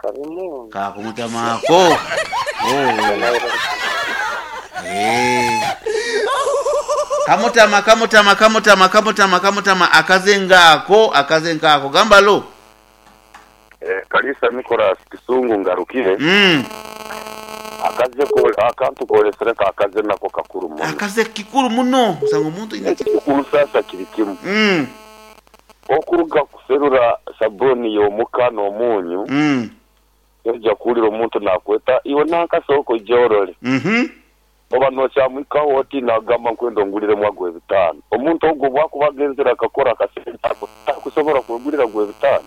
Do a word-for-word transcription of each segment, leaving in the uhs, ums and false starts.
Kabi muno. Kakumutamaako. Oh. Eh. Kamutama kamutama kamutama kamutama kamutama akaze ngaako akaze ngaako gamba lo. Eh, Kalisa Nicholas Kisungu ngarukire. Mm. Akaze ko akantu kolesere ka akaze nako kakuru muno. Akaze kikuru muno usanga omuntu ina Ekikuru sasa kiri kimu. Mm. Okuruga kuserura sabuni y'omuka n'omunyu. Mm. Ojja kuwulira omuntu nakweta iwe nankasoko jorole. Mhm. Oba nokyamwikaho oti nagamba nkwenda onguliremu agwe ebitaano. Omuntu ogwo bwakuba agenzere akakora akasente ako takusobola kwegulira gwe ebitaano.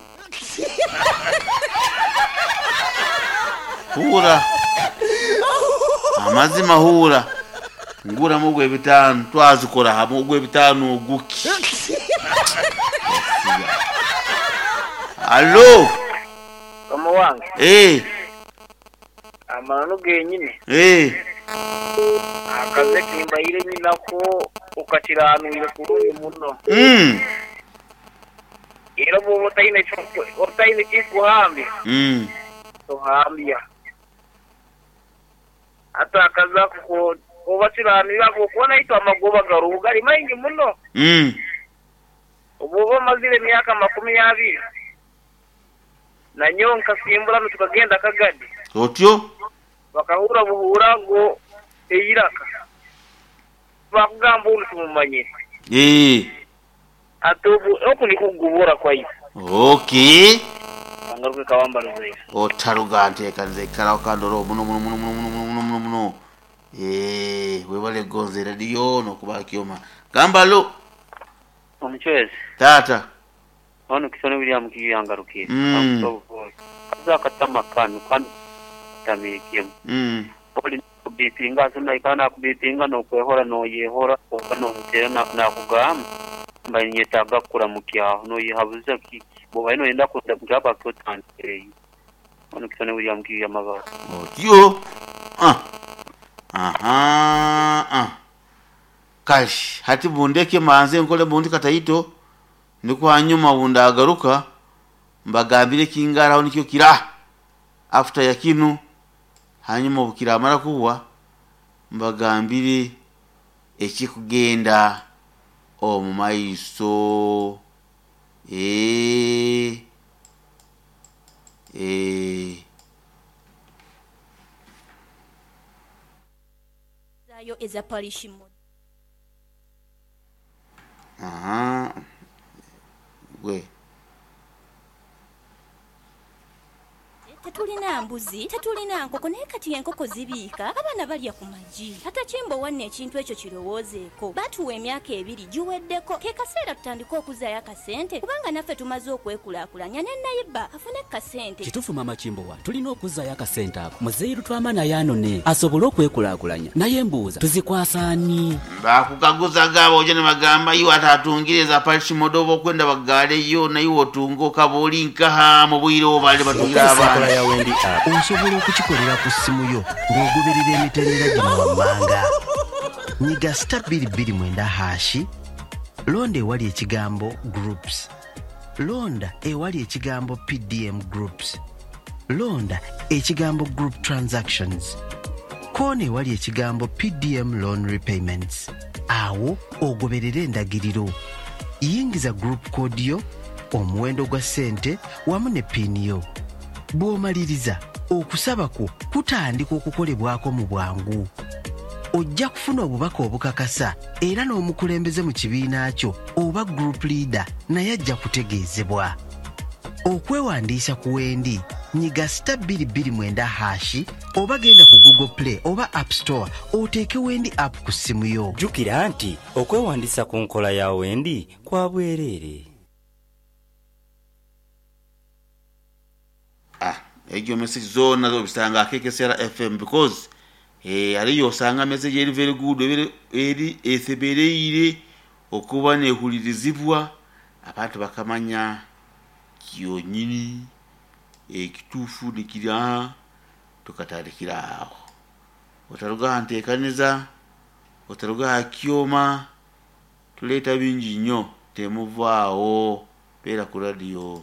Hura. Amazima hura. Nguramu ogwe ebitaano twazikora hamwe ogwe ebitaano oguki. Allo. Mama wange. Eh. Amananu genyine. Eh. Akaze kimbaire nyinako okakiraanwire kurungi muno. Mm. Era bw'oba otaine kyo- otaine kikuhambya. Mm. Tohambya. Hata akaze ako oba kiranira okuba naitwe amagoba garuhu gari maingi muno. Mm. Obwoba omazire emyaka makumi abiri nanyowe nkasimbura tukagenda Kagadi. Otyo? Bakahura buhura ngo eyiraka. Bakugamba uri tumumanyire. Eh. Ate obu oku nikugubura kwayo. Okay. Angaruke kawamba ruzeyo. Otaruga nteekaniza ekkalawo kandoro muno muno muno muno muno muno muno muno. Eh, webale gonze radio nokuba kyoma. Gamba lo. Omuchwezi. Tata. Ono kisone William kiyangarukire. Mm. Kaza katama kanu kanu tamikimu. Mm. Oli kubipinga sona ikana kubipinga no kwehora no yehora oba no mutera na nakugamba mba nyetaga kuramukya no yihabuza ki bo ino yenda kudaba kotandere. Ono kisone William kiyamaba. Otyo. Ah. Aha. Ah. Kash, hati bundeke manze nkole bundi kataito niko hanyuma bundagaruka mbagambire kingaraho nikyo kira after ya kinu hanyuma bukiramara kuwa mbagambire ekikugenda omu maiso eh eh zayo eza parish mod. Aha. We. Tetulina mbuzi, tetulina nkoko naye kati enkoko zibiika, abaana balya ku magi. Ate Kimbo wanne ekintu ekyo kirowoozeeko. Batuwa emyaka ebiri giweddeko. Ke kaseera tutandike okuzaayo akasente kubanga naffe tumaze okwekulaakulanya ne neighbor afune kasente. Kituufu Mama Kimbowa, tulina okuzaayo akasente ako. Muzeeyi Lutwama naye anone asobole okwekulaakulanya. Naye mbuuza tuzikwasaani? Bakukaguza gabo oje ne bagamba iwe atatungire za parish modobo okwenda bagaleyo naye otunga okaba oli nkaha mu bwire obale batungira abaana. Ya Wendi App. Osobola okukikolera ku ssimu yo ng'ogoberera emitendera gino wammanga. Nyiga star bbiri bbiri mwenda hashi, londa ewali ekigambo groups, londa ewali ekigambo P D M groups, londa ekigambo group transactions, koona ewali ekigambo P D M loan repayments. Awo ogoberere endagiriro. Yingiza group code yo, omuwendo gwa ssente wamu ne PIN yo. Bw'omaliriza okusaba kwo kutandika okukolebwako mu bwangu. Ojja kufuna obubaka obukakasa era n'omukulembeze mu kibiina kyo oba group leader naye ajja kutegeezebwa. Okwewandiisa ku Wendi nyiga star bbiri bbiri mwenda hashi oba genda ku Google Play oba App Store oteeke Wendi app ku ssimu yo. Jjukira nti okwewandiisa ku nkola ya Wendi kwa bwereere. Ah, egyo message zona zobisanga K K C R F M because eh ariyo osanga message eri very good eri eri esebereire okuba nehulirizibwa abantu bakamanya kyonyini ekituufu nikira tukatandikira aho. Otaruga nteekaniza, otaruga kyoma, tuleeta bingi nnyo temuvaawo beera ku radio.